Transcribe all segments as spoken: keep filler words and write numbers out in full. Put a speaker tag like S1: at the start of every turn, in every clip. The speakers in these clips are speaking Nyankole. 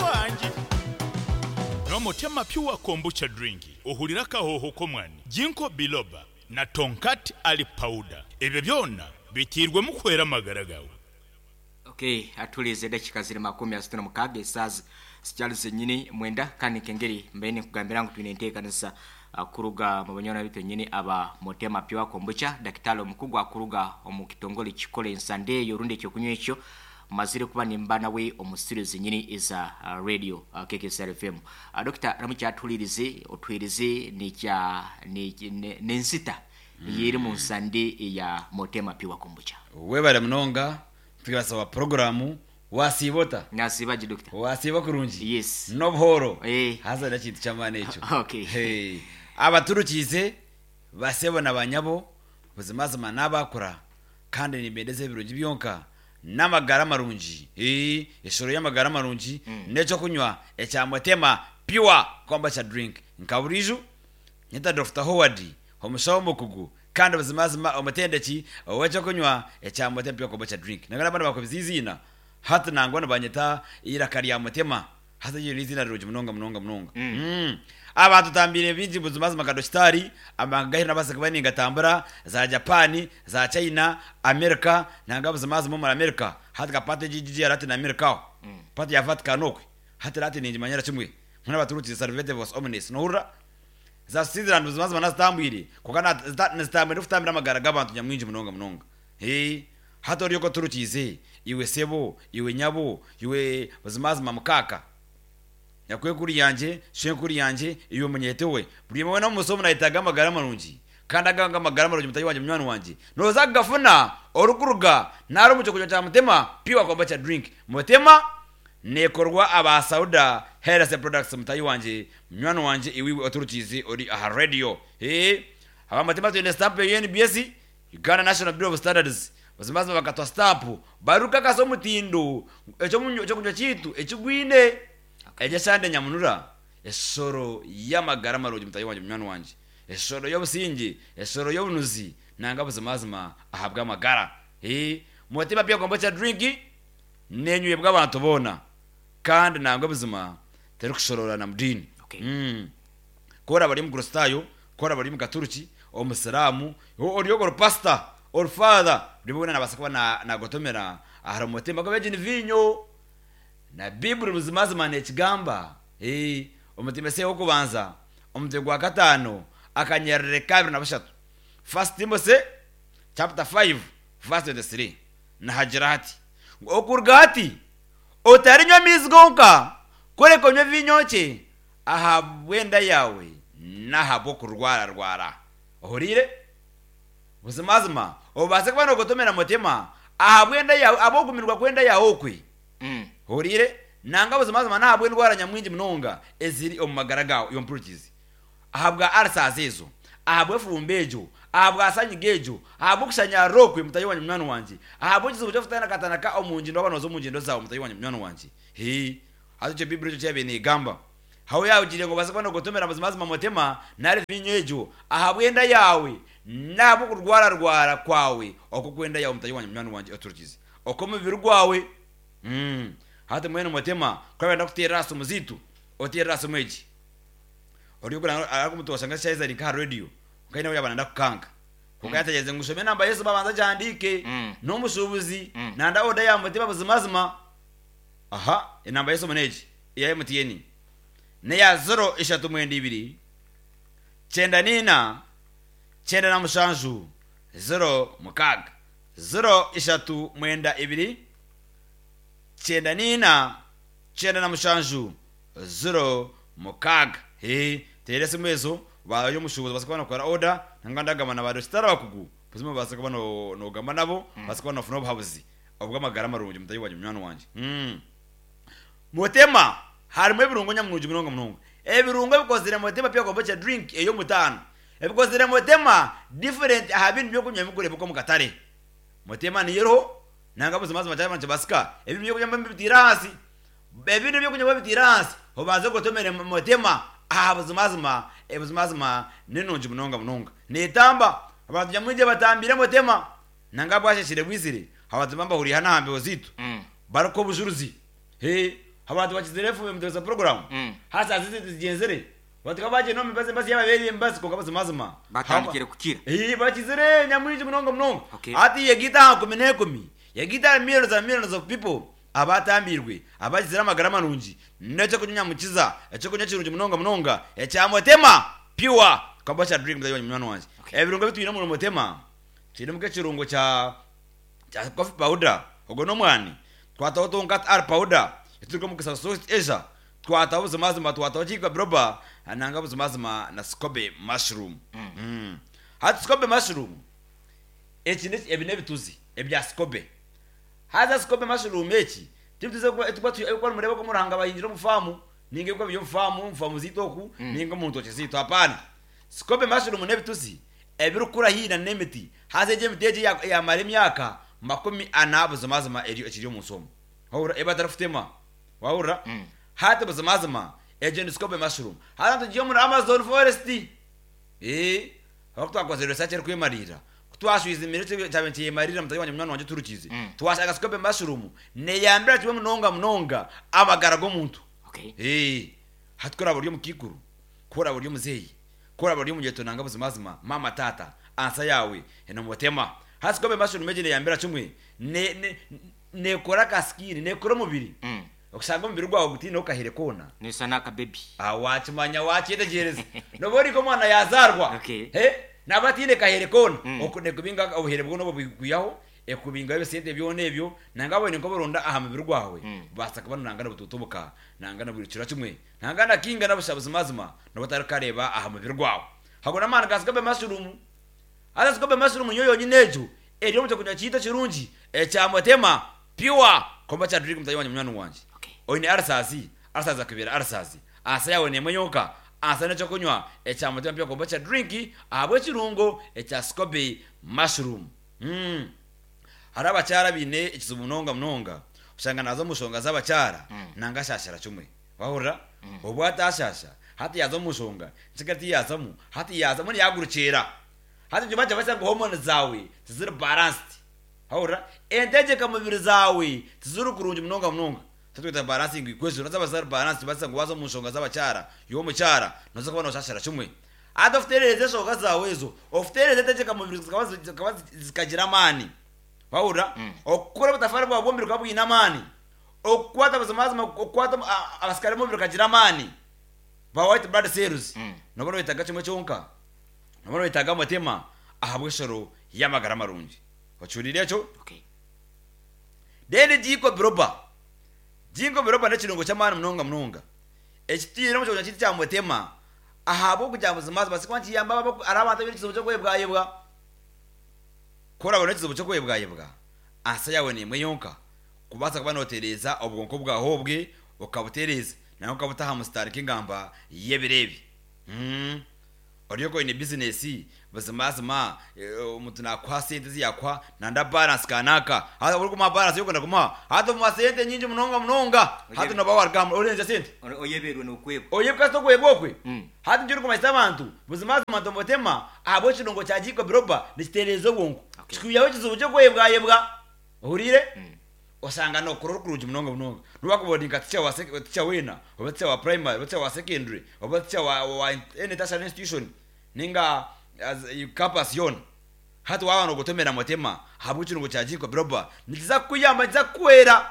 S1: Wangi.
S2: N'omutema Pure Kombucha Drink ohurira akahoho k'omwani, Ginkgo Biloba na Tongkat Ali Powder. Ebyo byona biteirwemu kuhwera amagara gaawe.
S3: Okay, atulize edakika ziri makumi asatu na mukaaga, esaaha zikyali zenyini mwenda. Kandi nkengeri mbaire ninkugambira ngu twine enteekanisa uh, kuruga mu banywani bitu nyini aba Motema Pure Kombucha. Dakitari omukugu akuruga omu kitongole kikora ensande eyo rundi ekyokunywa ekyo mazire kuba nimba nawe omu studio zenyini eza uh, radio uh, K K S R F M. uh, Dokita ramukyatulirize, otwirize nikya n'ensita yeri mu nsande ya Motema Pure Kombucha.
S4: Webale munonga. Twibasaba porogaramu wasiibota?
S3: Nasibaje, dokita.
S4: Wasiiba kurungi?
S3: Yes.
S4: N'obuhoro?
S3: Eh.
S4: Haza nekintu ky'amaani ekyo.
S3: Okay.
S4: Hey. Abaturukiize basebo na banyabo, buzimazima n'abakura kandi nimbendeza ebirungi byonka n'amagara marungi. Eh, eshoro y'amagara marungi n'ekyokunywa ekya Motema Pure Kombucha Drink. Nka burijo nyeta Doctor Howard, omushaho omukugu kandi buzimazima omutendeki ow'ekyokunywa ekya Motema Pure Kombucha Drink. Nagana abana bakubiza izina hati nangwa nibanyeta iraka rya Mutema. Hati iryo n'izina rirungi munonga munonga munonga. Mm. Abantu tambire bingi buzimazima ka dokitari amagahiri nabasa kuba ningatambura za Japani, za China, America. Nanga buzimazima muri America hati kapate G G Latin America aho pati ya Vatican okwe hati Latin ningimanyira kimwe nkuna baturutse Salvete vos omnes nohurra za Switzerland. Buzimazima nazitambwire kuko nazitambwire kutambira amagara g'abantu nyamwingi munonga munonga. Hey, hati oryo ko turukize iwe sebo, iwe nyabo, iwe buzimazima mukaka nyakwe kuri yanje shenkuri yanje, iwe munyete we, buri mwe no musomo nayitaga amagara marungi kandi aganga amagara marungi. Mutayi wanje, munywani wanje, noza gafuna orukuruga nari umuco kunywa cya Mutema Pure Kombucha Drink. Mutema nekorwa aba Sauda Health Products. Mutayi wanje, munywani wanje, iwiwe oturukizi ori aha radio, eh aba Mutima twine stamp ya U N B S, Uganda National Bureau of Standards. Bazimazima bakatwa stamp baruka kasa omutindo ekyo kunywa kitu ekigwine ekyo sande nyamunura esoro y'amagara marungi. Mutayi wanje, munywani wanje, esoro y'obusinge, esoro y'obunuzi nanga buzimazima ahabwa amagara. Eh, Mutima Pure Kombucha Drink nenywe bw'abantu bona kandi nangwe buzima terikushorora na mudini.
S3: Okay.
S4: mm. kora bari mu Kristayo, kora bari mu Katuruki, omusiramu, oryo pastor or father, buri nabasa kuba na nagotomera ahari mutima ko ni vinyo na Bibuli buzimazima nekigamba. Eh, omutima se wokubanza omutwe gwa katano akanyerere kabiri na bushatu, First Timothy chapter five verse twenty-three, nahagira hati ngo okuruga hati otarinywa amaizi gonka, kureka onywe vinyo kye ahabwenda yawe n'ahabw'okurwararwara. Ohuriire buzimazima obase kuba nogotomera mutima ahabwenda yawe abogumirwa kwenda yawe okwe.
S3: Mm.
S4: Hurire nanga buzimazima nahabwa endwara nyamwingi munonga eziri omu magara gawe iyo mpurikizi, ahabwa ulcers ezo, ahabwa efumba egyo, ahabwa asanyiga egyo, ahabwa okushanyarira okwe. Mutayi wanje, munywani wanje, ahabwa ekizibu ky'okutanakatanaka omu ngindo waba noza omu ngindo zawe. Mutayi wanje, munywani wanje, he hati ekyo Bibuli ekyo kyabiire negamba hawe yawugire ngo baze kuba nogotomera buzimazima mutima nari vinyo egyo ahabwenda yawe nabwo kurwararwara kwawe oko kwenda yawe. Mutayi wanje, munywani wanje oturukize oko omubiri gwawe. Mm. hati mwene mutima kwabenda kuteera asi omuzitu oteera asi omwegi oryo arakumutosha shaizari nka radio ukaina yaba nanda kukanga kukayategeze ngu shome namba Yesu babanza jandike.
S3: Mm.
S4: N'omushubuzi
S3: Mm.
S4: nanda oda ya mutima buzimazima aha enamba Yesu munegi iya M T N neya zero ishatu mwenda ibiri cyenda nina cyenda na mushanju zero mukaga, zero ishatu mwenda ibiri cyenda nina cyenda na mushanju zero mukaga. He tere esimu ezo bayo omushubuzi basa kuba nokora order nanga ndagamba na badokitari abakugu buzima basa kuba no- nogamba nabo basa kuba nofuna obuhabuzi obw'amagara marungi. Mutayi wanje, munywani wanje, mm. Mutema harimu ebirungo nyamurungi munonga munonga. Ebirungo ebikozire Mutema Pure Kombucha Drink ey'omutaano ebikozire Mutema different aha bintu byokunywa bikureebeka omu katare. Mutema niyeriho nanga buzimazima kyaba nikibasika ebintu byokunywa bibitiire ahansi, ebintu byokunywa bibitiire ahansi obanze gotomere Mutema aha buzimazima. Ebuzimazima ninungi munonga munonga netamba abantu nyamwingi batambire Mutema nanga bwasheshire bwizire abantu bambahuriye hano aha mbeho zitu
S3: Mm.
S4: bariko obujuruzi he Abantu bakizire F M mutesa program.
S3: Mm.
S4: Hasa zizi zigenzere. Batuka baje no mibaze mbazi yababereye embazi konka bazimazima.
S3: Batandikire kukira.
S4: Eh, bakizire nyamwingi munonga munonga.
S3: Okay.
S4: Ati yegita kumi n'ekumi. Yegita millions and millions of people abatambirwe, abakizire amagara marungi n'ekyo kunywa mukiza, ekyo kunywa kirungi munonga munonga ekya Motema Pure Kombucha Drink. Mutayi munywani wanje,
S3: Okay.
S4: ebirungo bitwine mu Motema kirimu ekirungo kya kya coffee powder, ogwo n'omwani, twataho Tongkat Ali powder eturuka mu South Asia, twataho buzimazima, twataho ginkgo biloba nanga buzimazima na scobe mushroom. mm. Hati scobe mushroom eki ni- ebi n'ebituzi ebya scobe. Haza scobe mushroom eki tibituze kuba kuba mureba ko muranga bayinjira mu famu ninge ko byo famu famu zitoku ninge mu ntoki zito. Hapana, scobe mushroom n'ebituzi ebirukura hina n'emiti. Haza egyo emiti egi ya- yamara emyaka makumi ana buzimazima eri ekiri omu nsomo, wahurira, eba atarikutema, wahurira.
S3: Mm.
S4: Hati buzimazima egyo ni scobe mushroom. Haza tugiye muri Amazon forest, eh aho twakoze research eri kwemarira, twashwiza imire cyabe nkiyemarira. Mutayi wanje, munywani wanje turukize,
S3: Mm.
S4: twashaka scobe mushroom neyambira kimwe munonga munonga amagara g'omuntu.
S3: Okay.
S4: Eh, hati kuraba uri mukikuru, kuraba uri muzeyi, kuraba uri mugeto nanga buzimazima mama tata, ansa yawe eno Motema. Hati scobe mushroom ejo neyambira kimwe ne ne nekora ka skin, nekora omubiri.
S3: Mm.
S4: Okusanga omubiri gwawe gutiine okahere kona.
S3: Nisa n'akabebi.
S4: Ah, wakimanya, wakyetegereza noba oriko omwana yazarwa.
S3: Okay.
S4: He naba atiine kahere kona.
S3: Mm.
S4: Oku- nekubinga obuhere bwona obwo bwikwihaho, ekubingaho ebisente byona ebyo nanga bwene nkoburonda aha mubiri gwawe.
S3: Mm.
S4: Basa kuba nanga nabututubuka nanga nabwirukira kimwe nanga nakinga nabusha buzimazima noba otarikareba aha mubiri gwawe. Hago n'amaani ga scobe mushroom. Haza scobe mushroom niyo yonyine egyo eri omu kyokunywa kiita kirungi ekya Motema Pure Kombucha Drink. Mutayi wanje, munywani wanje,
S3: Okay.
S4: oine ulcers, ulcers akubera ulcers, asa yawe nemwe yonka asa nekyokunywa ekya Motema Pure Kombucha Drink ahabw'ekirungo ekya scobe mushroom. mm. Hari abakyara biine ekizibu munonga munonga, oshanga naza omu nshonga z'abakyara
S3: Mm.
S4: nanga ashashara kimwe, wahurira. Obwo atashasha, hati yaza omu nshonga nkiga tiyazamu, hati yazamu niyagurukiira. Hati njo bajya basanga hormone zawe tiziri balanced, wahurira, entegeka mubiri zawe tiziri kurungi munonga munonga. Tatwita balancing equation zaba zari balanced, basanga waza mu nshonga z'abakyara yo mukyara noza kubona oshashara kimwe. Ate ofuterereza enshonga zawe ezo, ofuterereza entegeka mubiri zikaba zikaba zikagira amaani, wahurira.
S3: Mm.
S4: Okukora obutafari bwawe bw'omubiri bukaba bwine amaani, okukwata buzimazima, okukwata a- abasikari b'omubiri bakagira amaani ba white blood cells.
S3: Mm.
S4: Nobona wetaga kimwe kyonka, nobona wetaga Motema ahabw'eshoro y'amagara marungi. Ocurire ekyo.
S3: Okay.
S4: Then ginkgo biloba. Ginkgo biloba n'ekirungo ky'amaani munonga munonga ekitiire omu kyokunywa kiti kya Motema ahabw'okugira buzimazima sikuba nkiyamba abo- ari abantu abaine ekizibu ky'okwebwayebwa. Kurabona ekizibu ky'okwebwayebwa, ansa yawe nimwe yonka kubaasa kuba notereeza obwonko bwawe obwe, okabutereeza nawe okabuta aha musitari k'engamba y'ebireebi. Mm. Oriyo oine bizinesi buzimazima, eh, omuntu nakuha sente ziyakuha nanda balance kanaka, hata uri kumuha balance yokwenda kumuha, hata omuha sente nyingi munonga munonga, hata noba warugamba orenze sente.
S3: Oyeberwe n'okwebwa.
S4: Oyebwa tokwebwa okwe.
S3: Mm.
S4: Hati njuri kumanyisa abantu buzimazima nti Motema ahabw'ekirungo kya ginkgo biloba nikitereeza obwonko.
S3: Okay.
S4: Kikwihaho ekizibu ky'okwebwayebwa, ohuriire.
S3: Mm.
S4: Osanga nokora orikurungi munonga munonga niwakubona nka teacher wa sec- teacher wena, oba teacher wa primary, oba teacher wa secondary, oba teacher wa, wa any tertiary institution ninga as- campus yona. Hati waba nogotomera Motema ahabw'ekirungo kya ginkgo biloba nikiza kukuyamba, nikiza kukuhwera,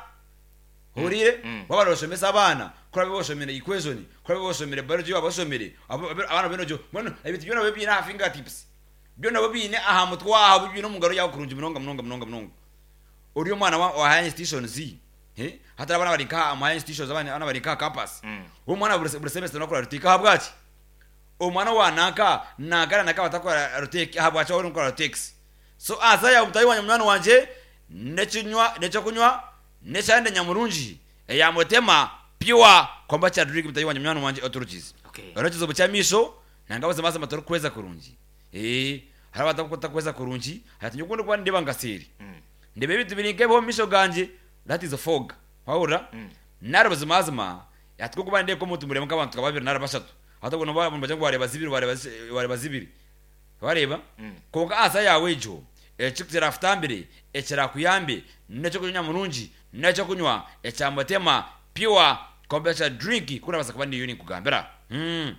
S4: ohuriire.
S3: Mm.
S4: Waba noshomesa abaana, kurabe boshomere equation, kurabe boshomere biology, waba boshomere abo- abo- abaana benojo mbona ebintu byona biba biine aha fingertips, byona biba biine aha mutwe waho, biine omu ngaro yawe kurungi munonga munonga munonga munonga. Ori omwana wa, wa higher institutions, eh hatari abana bari nka mu higher institutions, abana abana bari nka campus.
S3: Mm.
S4: Omwana buri buri semester nakora retake. Ahabwaki omwana wa nanka nangana naka batakora retake? Ahabwaki ori nkora retakes? So aza ya mutayi wanje, munywani wanje, nekinywa nekyokunywa nekyande nyamurungi eya Motema Pure Kombucha Drink. Mutayi wanje, munywani wanje oturukize.
S3: Okay.
S4: Oro ekizibu ky'amaisho nanga buzimazima torikweza kurungi, eh hari abatakweza kurungi. Hati nyukunda kuba ndeba ngaseri,
S3: Mm.
S4: ndeba ebintu biri nk'ebiho omu maisho ganje, that is a fog, wahurira.
S3: Mm.
S4: Nari buzimazima ati kuba ndeba omuntu muremu nk'abantu nka babiri nari bashatu, hati ubwo nabo bajya ngo wareba zibiri, wareba zi- wareba zibiri, wareba.
S3: Mm.
S4: Konka asa yawe egyo ekikuterafutambire ekirakuyambe nekyokunywa murungi nekyokunywa ekya Motema Pure. Kombucha drink kurabasa kuba niyo ninkugambira. Mm.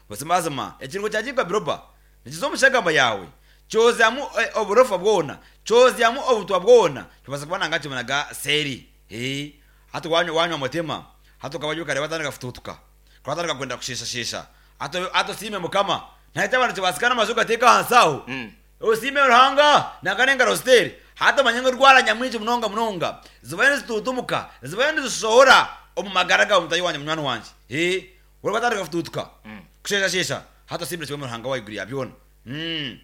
S4: Buzimazima ekirungo kya ginkgo biloba nikiza omu shagamba yawe kyozyamu eh, oburofa bwona, kyozyamu obutwa bwona, kibasa kuba nanga kibonaga seri. Eh, hati wanywa wanywa motema, hati ukaba ukareba atandika kufututuka, kwatandika kwenda kusheshashesha, hati hati usime mukama nahita abantu kibasikana amazu gateka hansi aho.
S3: Mm.
S4: Usime Ruhanga nanga nengaro zitere hata manye ngo rwara nyamwingi munonga munonga zibaye zitutumuka, zibaye zisohora omu magara gawe mutayi wanje munywani wanje. Eh, uri batandika kufututuka
S3: Mm.
S4: kusheshashesha, hata usimire kimwe Ruhanga wayiguriye abyona. Mm.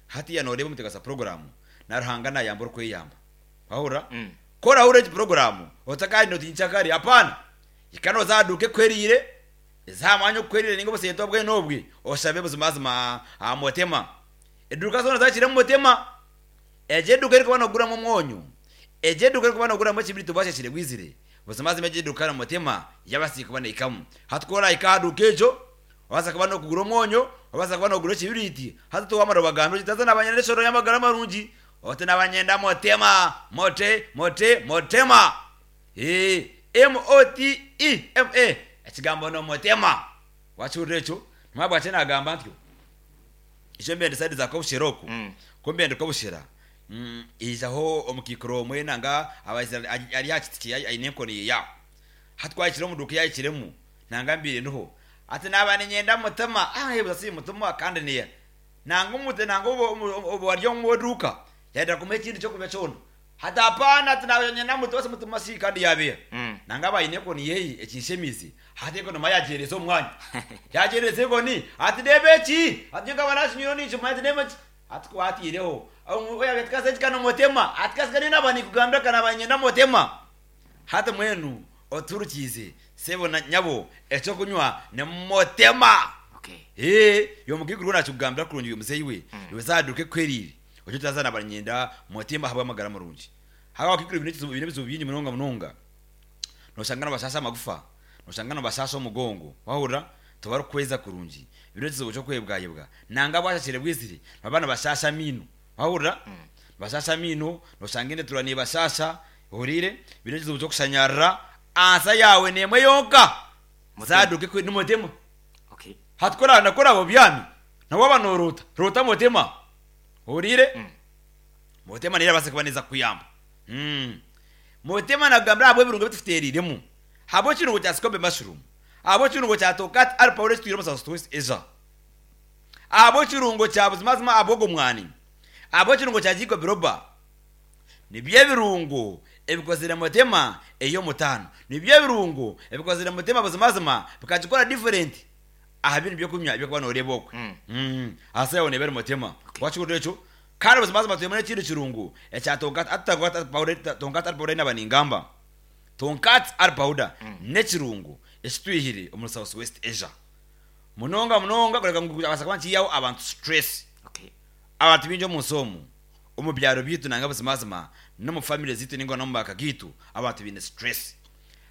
S4: Hati ya noreba mutegasa programu na Ruhanga nayamba uri kweyamba wahura.
S3: Mm.
S4: Kora hure programu otakari noti nchakari hapana ikano zaduke kwerire zamanya kwerire ningo bose bwe nobwe oshabe buzimazima amotema eduka zona zakire motema eje duka riko banogura mu mwonyo, eje duka riko banogura mu kibirito bashashire gwizire buzimazima eje duka na motema yabasika bana ikamu hatkora ikaduka ejo waza kuba no kugura omwonyo, waza kuba no kugura ekibiriti, hati tuwamara bagambe kitaza nabanyenda eshoro y'amagara marungi ote nabanyenda motema mote mote motema. Eh, M O T E M A ekigambo no motema wachurira ekyo mwabwa kye nagamba ntyo ekyo mbende side za kobushera oku.
S3: Mm.
S4: Ko mbende kobushera. Mm, ijaho omukikoro omwe nanga abaizira ari yakitikiye aine enkoni ya hatwakire omuduka yakiremu nanga mbire niho ati naba ninyenda mutema ah yebuza si mutema kandi niya nanga umute nanga obo waryo mu duka yenda kumenya ikindi cyo kumenya cyona hata hapana ati naba nyenda mutema se mutema si kandi yabiye.
S3: Mm.
S4: Nanga bayine koni yeyi ekinshemizi hati kono mayagereza omwanya yagereza ekoni ati debeki ati ngaba nashinyiro nicho ati debeki ati kwatireho oya betkase kano mutema ati kasikani naba nikugambira kana banyenda mutema hata mwenu oturukize sebo na nyabo ekyo kunywa ne motema.
S3: Okay.
S4: Eh, yo mugiguru nakugambira kurungi uyu muzeyi we yozaduke kwerire ocyo tazana banyenda motema habwa amagara marungi haba kikuru ibintu ibintu bizubu byingi munonga munonga noshangana bashasha amagufa, noshangana bashasha omugongo wahura tobari kweza kurungi ibintu kizubu cyo kwebwayebwa nanga bwashashire bwizire abana bashasha mino wahura bashasha mino noshanga ende turani bashasha uhurire ibintu kizubu cyo kushanyarra ansa yawe nemwe yonka zaduke kwe n'umutema.
S3: Okay.
S4: Hatkora nakora abo byami nabo banorota rota motema uhurire.
S3: Mm.
S4: Motema nira base kubaneza kuyamba. Mm. Motema nagambira abo ebirungo bitufuteriremu habo kirungo kya scope mushroom, abo kirungo kya tokat al powder twiremo sa twist eza, abo kirungo kya buzimazima abogo mwani, abo kirungo kya jiko biroba nibyo birungo ebikozire motema eyo mutano nibyo birungo ebikozire motema buzimazima bikagikora different aha bintu byo kunywa byo kubana ureba okwe.
S3: Mm.
S4: Mm. Asa yone bere motema wachurire ekyo kandi buzimazima tuyemene kindi kirungo ekya tonkat atagot powder tonkat al powder nabaningamba tonkat al powder nekirungo ekitwihire omu South West Asia munonga munonga kureka ngu abasa kuba nkiyaho abantu stress.
S3: Okay.
S4: Abantu bingi omu nsi omu omu byaro byitu nanga buzimazima no mu family zitu ningo no mu maka gitu abantu bine stress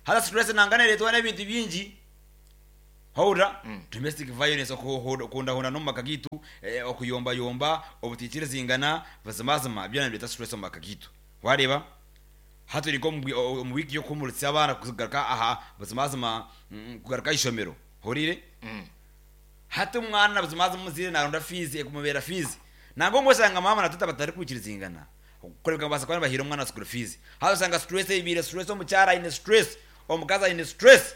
S4: hata stress nanga neretwa n'ebintu bingi hawura.
S3: Mm.
S4: Domestic violence okundahunda no mu maka gitu, eh, okuyombayomba obutikire zingana buzimazima byona bireta stress omu maka gitu wareba haturi ko mu wiki yo kumuritsa abana kugaruka aha buzimazima mm, kugaruka ishomero hurire.
S3: Mm.
S4: Hati umwana buzimazima muzire naronda fizi ekumubera fizi nango ngosanga mama na tata batari kwikirizingana kureka basa kwana bahira umwana school fees hata usanga stress ibire stress omucyara ine stress omukaza ine stress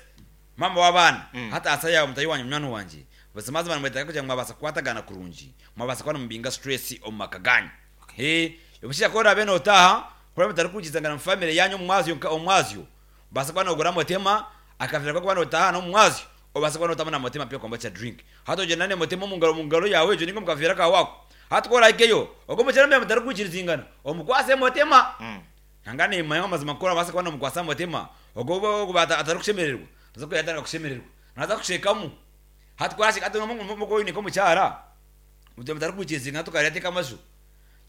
S4: mama w'abana.
S3: Mm.
S4: Hata asa yawe mutayi wanyu munywani wanje buzimazima mwetaka kugira ngo mwabasa kwatagana kurungi mwabasa kwana mubinga stress omu maka ganyu. Eh, omushaija kora bene otaha kora mutari kwikizangana mu family yanyu omumwazyo nka omumwazyo basa kwana ogura motema akavira ko kwana otaha no mumwazyo obasa kwana otama na motema pia kombucha drink hata ojenda ne motema mu ngaro mu ngaro yawe ejo ningo mukavira ka wako hata kora ikeyo ogo mukyara mutari kwikirizingana omukwase motema.
S3: Mm.
S4: Nanga nimanya amazima kora basa kwana omukwasa motema ogo ogo bata atari kushemererwa naza kuyatanga kushemererwa naza kushekamu hata kwashika hata no niko mukyara mutari kwikirizingana tukarya amazu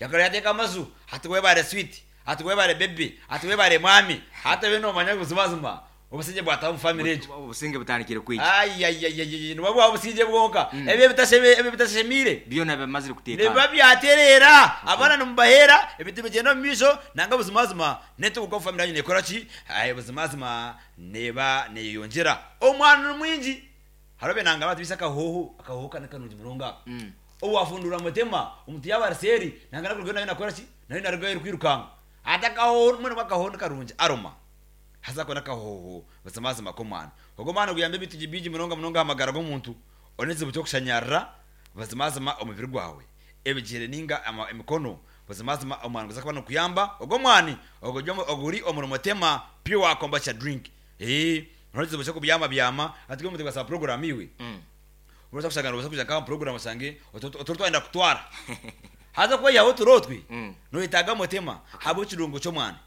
S4: yakarya amazu hati webare sweet hati webare baby hati webare mwami hata we nomanya buzimazima Obusinge bwataho mu family egyo.
S3: Obusinge butandikire kwija.
S4: Ai ai ai ai nibwo obusinge bwonka. Ebyo bitasheme ebyo bitashemire.
S3: Byona bamazire kutekana.
S4: Niba byaterera abana nimubahera ebintu bigenda mu misho nanga buzimazima neto uko family yanyu nekora ki ai buzimazima neba neyongera. Omwana mwingi harobe nanga batu bisaka hoho akahoho kana kanungi muronga. Mm. Owafundura mutema omuntu yabarseri nanga nakurugenda nayo nakora ki nayo narugaya kwirukanga. Atakaho mwana bakaho karungi aroma. Haza kona kahoho buzimazima komwana. Ogo mwana guyambe bitu biji muronga munonga amagara gomuntu oneze bucyo kushanyarra buzimazima omubiri gwawe. Ebigere ninga emikono buzimazima omwana guza kubana kuyamba ogo mwani ogo oguri omuri mutema pure kombucha drink. Eh noneze bucyo kubyama byama atiko mutega sa program iwe. Mm. Uroza kushagana uroza kuja kama program sange ototwenda kutwara. Haza ko yaho turotwi. Mm. No itaga mutema habo kirungo cyo mwana.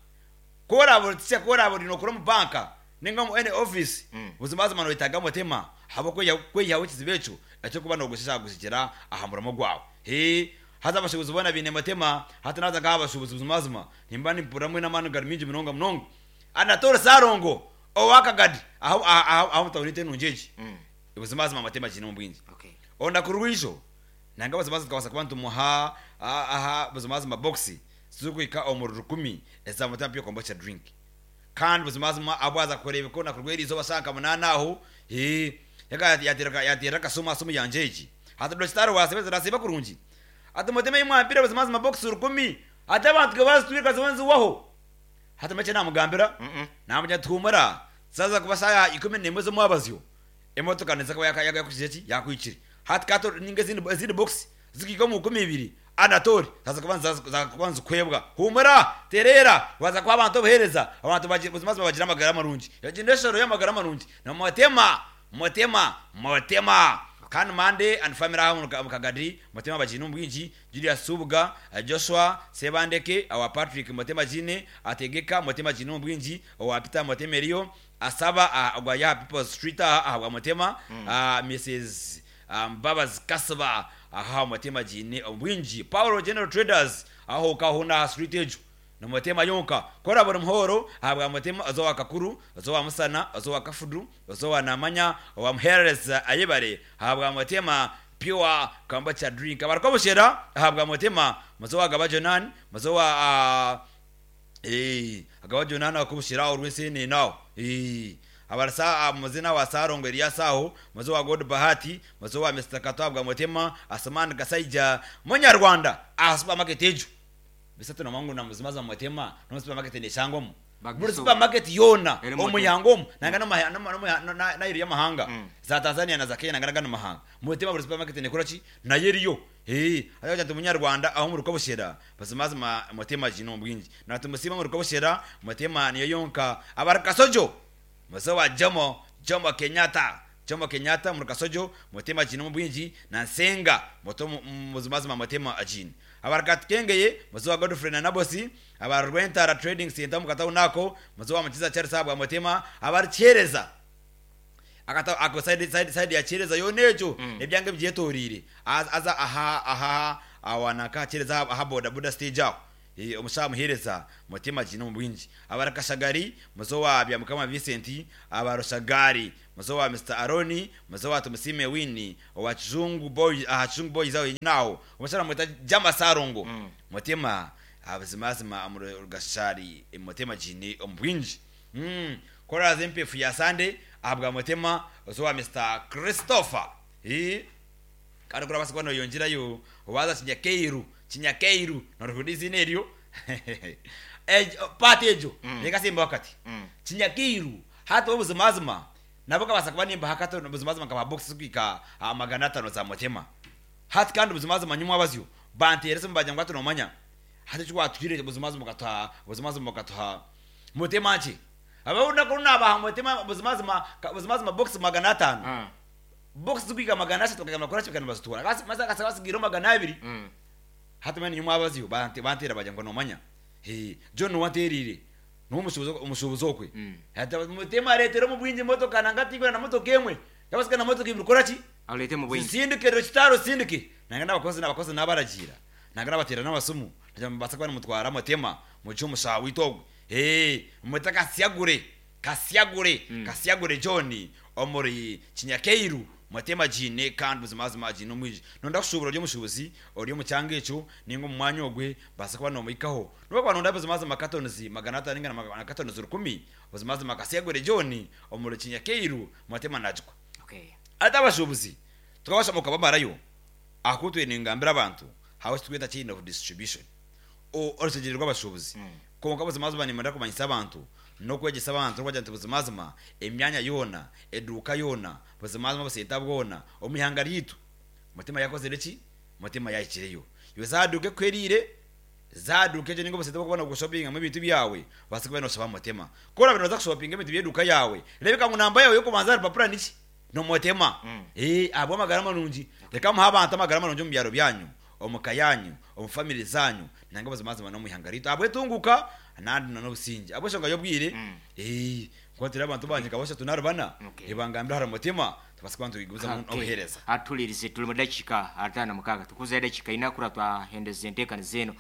S4: Kora bolitse kora boli no kora mu banka ninga mu any office mm. Buzimazima no itaga mutema habo ko yaho kizibecho ecyo kuba no gushaka gushikira ahamuramo gwawe. He haza abashobozi bona bine mutema hatanaza ngabashobozi buzimazima nimba nimpuramwe namanu garminji munonga munonga anatora sarongo owakagadi aho aho aho mutawunite nunjeje. Mm. Buzimazima matema jino mbwinji.
S3: Okay.
S4: Onda kurwisho nanga buzimazima twabasa kuba ntumuha aha buzimazima boxi zukwika omururu rukumi eza mutema pyo kombucha drink. Kandi buzimazima abwaza kurebe ko nakurweri izo basanga munana aho he yaka yatira yatira kasoma somo yanjeji hata dostaro wasebeza rasiba kurungi ati mutema imwampira buzimazima box rukumi ati abantu gabazi twirka zonzi waho hata mache namugambira namuja tumara saza kubasaya ikumi nemwe zo mwabazyo emotoka neza kuba yaka yakushije yakwikiri hati kato ninga zindi zindi box zikiko mu kumi ibiri anatori saza kubanza za kubanza kwebwa humura terera waza kwa abantu bohereza abantu buzimazima bagira amagara marungi yagendeshero y'amagara marungi na mutema mutema mutema kan mande and family aho mukagadi mutema bajinu mbwinji Julius Subuga Joshua Sebandeke awa Patrick mutema jine ategeka mutema jinu mbwinji awa Peter Mutemerio asaba agwa ya People Street awa mutema mm. Missus um, Babas Kasaba aha mutema jine mbwinji Paulo General Traders aho kahuna street ejo no mutema yonka kora buri muhoro ahabwa mutema azowa kakuru azowa musana azowa kafudu azowa namanya wa muhereza ayebare ahabwa mutema pure kombucha drink abarikobushera ahabwa mutema mazowa gabajonan mazowa eh agabajonan akubushira urwese nawo eh abarasa muzina wa sarongo Eliasaho mazowa God Bahati mazowa Mister Katabwa mutema Asman Kasaija munyarwanda aha supermarket ejo bisatu namangu na muzimaza mutema no supermarket ne shangomo muri supermarket yona omuyangomo nanga no na na iri yamahanga za Tanzania na za Kenya nanga no mahanga mutema muri supermarket ne kurachi na yeriyo eh ayo jantu munyarwanda aho muri kobushera bazimazima mutema jino mbwinji na tumusima muri kobushera mutema niyo yonka abarakasojo mazowa Jomo Jomo Kenyatta Jomo Kenyatta muri kasojo mutema jino mbwinji na nsenga moto muzimazima mutema ajini abarakatkengeye mazowa Godfrey na Nabosi abarwentara trading center mukata unako mazowa mchiza Charles abwa mutema abarchereza akata ako side side side ya chereza yonejo mm. Ebyange byetorire aza aha aha awana ka chereza aha boda boda stage aho e omushamuhereza mutima jino mbwinji abarakashagari mazowa bya mukama Vincent abaroshagari mazowa Mister Aroni mazowa Tumusime Winnie wa Chizungu boy aha Chizungu boys aho nawo omushara muta jama sarongo mm. Mutima abazimazima amurugashari mutima jini ombwinji mm kora zempefu ya Sunday abwa mutima mazowa Mister Christopher eh kandi kora basiko no yonjira yo waza chinyakeiru chinyakeiru noruhudizi neryo eh patejo mm. Nekasimba wakati mm. Chinyakeiru hata obuzimazima nabo kabasa kuba nimba hakato obuzimazima kaba box kwika magana atano za mutema hati kandi obuzimazima nyumwa bazyo banterese mbajya ngo atunomanya hati chwa twire obuzimazima kata obuzimazima kata mutema nchi ababona ko nabaha mutema obuzimazima obuzimazima box magana atano mm. Box kwika magana atatu kagama kora chikana bazitura kasi maza kasabasigira magana abiri mm. Hata mani nyuma abaziyo bante bantera bajya ngo nomanya he John wanterire no mushubuzo umushubuzo kwe mm. Hata mutema retero mu bwinji motoka nangati na motoka emwe yabasika na motoka ibikora ki
S3: alete mu bwinji
S4: sindike rechitaro sindike nanga nabakozi nabakozi nabaragira nanga nabatera nabasumu ndambatsa kwa mutwara mutema mu cyo mushawi togwe eh mutaka syagure Kasyagure Kasyagure John omuri Kinyakeiru Motema gine kandi buzimazima gine omwiji nonda kushubura ori omushubuzi ori omu kyanga ekyo ninga omu mwanya ogwe baasa kuba nomuhikaho noba nonda buzimazima katonizi magana atano ninga na magana katonizi rukumi buzimazima Kasyagure John omuri Kinyakeiru Motema najikwa.
S3: Okay.
S4: Ate abashubuzi tukabasha mukabamarayo akutwe ningambira abantu hawe twita chain of distribution o orushegyere rw'abashubuzi. Konka buzimazima nimenda kumanyisa abantu n'okwegyesa abantu n'okubagira nti buzimazima emyanya yoona eduuka yoona buzimazima busenta bwona omu ihanga ryitu Mutima yakozire ki, Mutima yahikireyo iwe zaduuka ekwerire zaduuka egyo ninga obusente bw'okubona kushopingamu ebintu byawe baasa kuba noshaba Mutima kora bino oza kushopinga ebintu by'eduuka yawe rebeka ngu namba yawe y'okubanza aha rupapura niki nomotema. Eh, abo amagara marungi reka muhe abantu amagara marungi omu byaro byanyu omu ka yanyu omu family zanyu nanga buzimazima n'omu ihanga ritu abwetunguka nandi n'obusinge abweshonga y'obwire eh kwatira abantu banje kabasha tunarubana.
S3: Okay.
S4: Ebangambira hari Mutima tubasa kuba ntubiguza
S3: Okay.
S4: obuhereza.
S3: Atulirize tuli mu dakika atano mukaaga tukuza edakika ina kura twahendeza enteekaniza eno.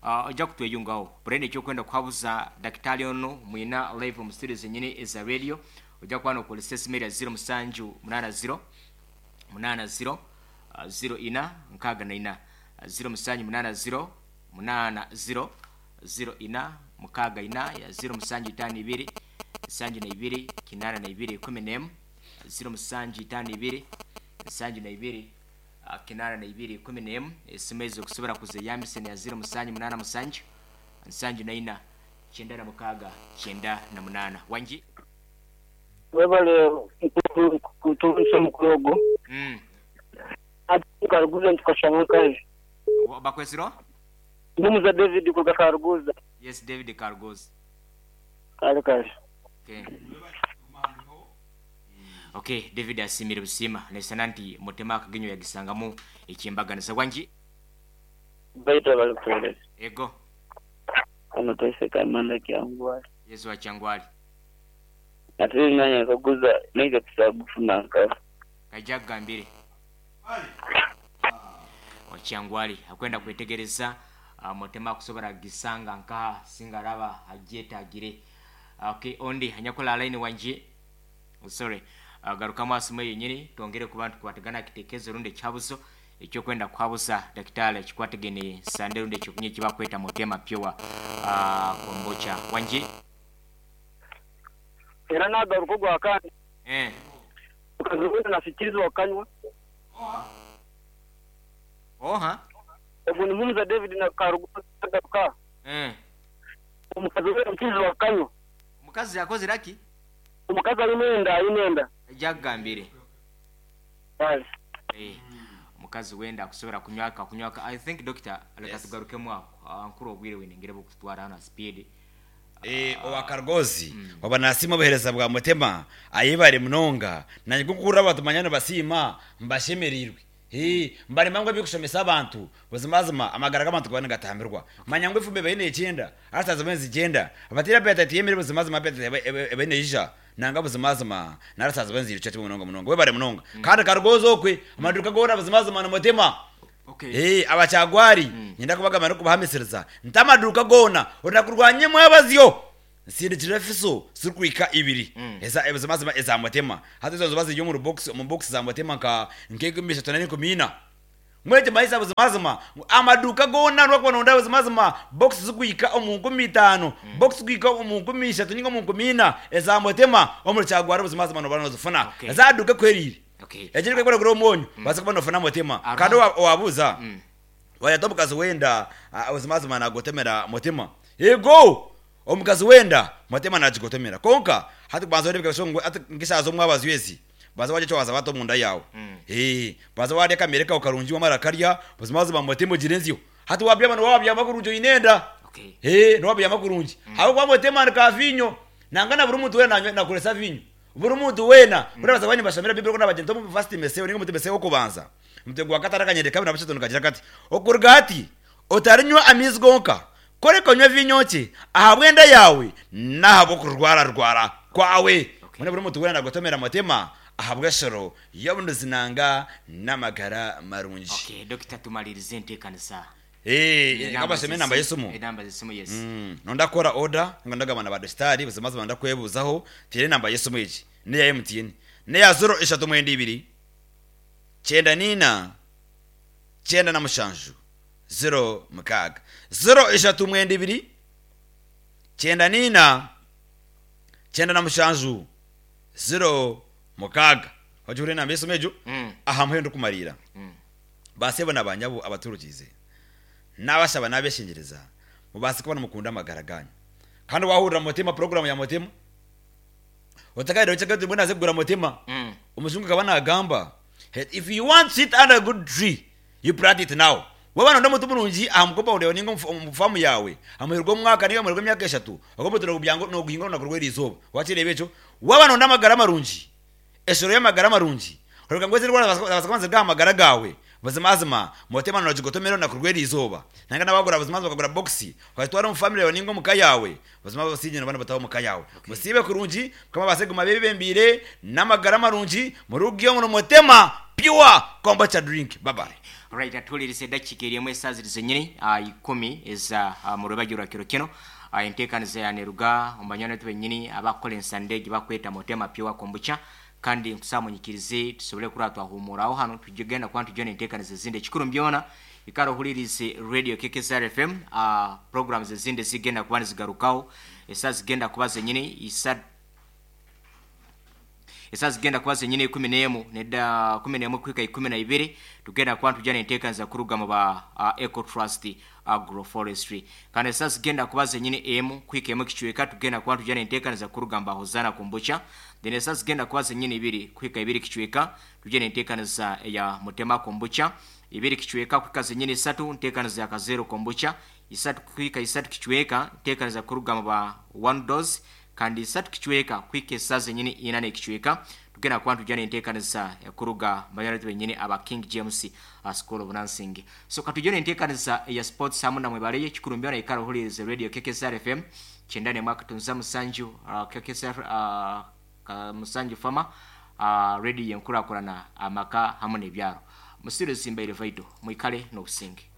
S3: Ah, ojja kutweyungaho burende ekyokwenda kuhabuza dakitari ono mwina live mu studio zenyini eza radio ojja kuba nokozesa esimu erya ziro musanju munana ziro munana ziro ah, ziro ina nkaaga na ina ziro musanju munana ziro munana ziro ziro ina mukaaga ina ya ziro musanju itaano ibiri nsanju na ibiri kinana na ibiri ikumi n'emu ziro musanju itaano ibiri nsanju na ibiri ah, kinana na ibiri ikumi n'emu. Esimu ezo okusobola kuzeyambisa ni ya ziro musanju munana musanju nsanju na ina kyenda na mukaaga kyenda na munana wangi.
S1: Webale kutuusa omukuru ogwo.
S3: Mm.
S1: Ati Karuguza ntukashanga kazi.
S3: Wa- bakwesiro.
S1: Ndumuza David kuga Karuguza.
S3: Yes, David Cargos.
S1: Kale kale.
S3: Okay. Okay, David asimire busima nesana nti Mutema akagenyo yagisangamu ekyembaganiza wangi.
S1: Baita balikueleza.
S3: Ego.
S1: Ano toiseka manda kyangwali.
S3: Yesu wa Kyangwali.
S1: Ate nanya kaguza nega tusagufuna nka.
S3: Kaija kugambire Wakyangwali akwenda kwetegereza uh, Mutema akusobola gisanga nkaha singa araba agyetagire. Okay, ondi anyakola line wangi, sorry, uh, garukamu asimu yenyini twongere kuba ntukwatagana kitekezo rundi ekyabuzo ekyokwenda kuhabuza dakitari ekikwatagene sande rundi ekyokunywa ekibakweta Mutema Pure uh, kombucha wangi.
S1: Era nagaruka gwa kandi.
S3: Eh.
S1: Ukazubuza nafikirizwa kanywa.
S3: Oha.
S1: Ogu ni Mumuza David na Karuguza garuka.
S3: Eh.
S1: Omukazi we mkizi kanywa.
S3: Omukazi yakozere aki?
S1: Omukazi alinenda alinenda.
S3: Ajja kugambire.
S1: Kale.
S3: Eh, omukazi wenda akusobola kunywaka kunywaka. I think doctor leka
S4: Yes.
S3: tugarukemu ako. Ah, nkuru obwire wenengere bukutwara hano speed.
S4: Eh, owa Kargozi waba nasima obuhereza bwa Mutema ayibare munonga nanye kukurra abantu manyano basiima mbashemereirwe. Eh, mbarema ngo ebikushomesa abantu buzimazima amagara g'abantu gaba nigatambirwa manya ngo efumbe baine ekyenda arataza benzi ikyenda abatira appetite yemere buzimazima appetite ebe- ebe neija nanga buzimazima narataza benzi irica kimwe munonga munonga webare munonga kandi Kargozi okwe amaduka gona buzimazima na Mutema.
S3: Okay.
S4: Eh, abakyagwari nyenda kubagamba nokubahamisiriza nti amaduka gona onakurwanye mwabazyo nsindikire fiso sirikwika ibiri eza ebuzimazima eza Mutema hati ezo ziba ziri omu box omu box za Mutema nka nk'enkumi ishatu n'enkumi ina mwete maisa buzimazima amaduka gona rwakuba nonda buzimazima box zikwika omu nkumi itaano box zikwika omu nkumi ishatu ninga omu nkumi ina eza Mutema omuri Kyagwari buzimazima noba nozifuna.
S3: Okay.
S4: Ezaduka kwerire
S3: Okay.
S4: ekiri kwekora gura omwonyo baza kuba nofuna Mutima.
S3: Ara.
S4: Kandi owa- owabuuza wayata omukazi wenda ah, buzimazima nagotemera Mutima ego omukazi wenda Mutima nagigotemera konka hati kubanza orebeka shongwe ati nkishaza omwabazi wezi baza warya ekyo waza bata omunda yawe. Eh, baza warya akamere kawe karungi wamara karya buzimazima Mutima ogire enzyo hati wabyama niwabyama kurungi oine enda.
S3: Okay.
S4: Eh, niwabyama kurungi aho Mutima ni ka vinyo nanga na buri muntu wena nanywa- nakoresa vinyo buri muntu wena urabaza bani bashamira bibiri ko nabagenda mu first mese ninga mutemese wo kubanza mutego wa katara kanyereka kabiri na bashatu kagira kati okuruga hati otarinywa amizi gonka koreka onywa vinyo ki ahabwenda yawe nahabwo kurwara rwara kwawe.
S3: Okay.
S4: Mune buri muntu wena nagotomera Mutima ahabweshero yobunuzinanga n'amagara marungi.
S3: Okay, dokita tumalirize enteekanisa.
S4: Eh, kabasheme enamba y'esimu.
S3: Enamba z'esimu, yes.
S4: Mm, nondakora order ngo ndagabana ba dostari buzima zima ndakwebuzaho tire namba y'esimu egi neya M T N neya zero eshatu mwenda ibiri cyenda nina cyenda na mushanju zero mukaga, zero eshatu mwenda ibiri cyenda nina cyenda na mushanju zero mukaga. Wajuhure namba y'esimu ejo.
S3: Mm.
S4: Aha muhendo kumarira.
S3: Mm.
S4: Basebo nabanyabo abaturukize n'abashaba n'abeshengereza mubase kubona mukunda amagara ganyu kandi wahurira mutima program ya mutima utakaire uchakati mbona azegura mutima.
S3: Mm.
S4: Umuzungu akaba nagamba, "Hey, if you want sit under a good tree, you plant it now." Wabana ndo mutu murungi aha mukopa ureba ninga umufamu yawe amuherwa umwaka niba amuherwa imyaka eshatu agomba turabyango no guhinga no kurwera izuba wakirebe ejo. Wabana ndo amagara marungi eshoro y'amagara marungi uruga ngo zirwara basakanze bw'amagara gawe buzima mutima no jigotomero na kurwera izuba nanga nabagura buzima bakagura box ukatwara mu family yawe ningo muka yawe buzima basigena bana bataho muka yawe musibe kurungi kama baseguma bebembire n'amagara marungi murugiyo ngo mutema pure kombucha drink. Bye bye.
S3: Right, atuwuliriza eddakiika erimu esaawa ziri zennyini ah, ikumi eza ah, mu lwebagyo lwa kiro kino. Ah, enteekaniza yaneruga omubanywani baitu bennyini abakukola ensande gye bakweta Motema Pure Kombucha kandi nkusaba munyikirize tusobole kuraba twahumuraho hano tugenda kuba ntujja enteekaniza ezindi. Ekikuru mbyona ikara ohulirize radio K K S R F M. uh, programs ezindi zigenda kuba nizigarukaho esaawa zigenda kuba zenyini isa esaa zigenda kuba zenyini ikumi n'emu nedda kumi n'emu kuhika ikumi na ibiri. Tugenda kuba ntujja nenteekaniza kuruga mu ba uh, Eco Trust Agroforestry kandi esaa zigenda kuba zenyini emu kuhika emu kicweka tugenda kuba ntujja nenteekaniza kuruga mu ba Hozana Kombucha. Then esaa zigenda kuba zenyini ibiri kuhika ibiri kicweka tujja nenteekaniza eya Mutema Kombucha. Ibiri kicweka kuhika zenyini isatu nteekaniza ya Kazero Kombucha. Isatu kuhika isatu kicweka nteekaniza kuruga mu ba One Dose kandi isatu kicweka kuhika esaa zenyini ina n'ekicweka tugenda kuba ntujja nenteekaniza kuruga banywani benyini aba King James uh, School of Nursing. So katujja nenteekaniza eya sports hamu namwe baleyo. Kikuru mbyona ikara ohulirize radio K K S R F M kyenda nemwe akatunza musanju, uh, K K S R uh, ka musanju fama uh, radio yenkurakurana amaka hamu n'ebyaro. Musiru zimbaire vaito mwikale n'obusinge.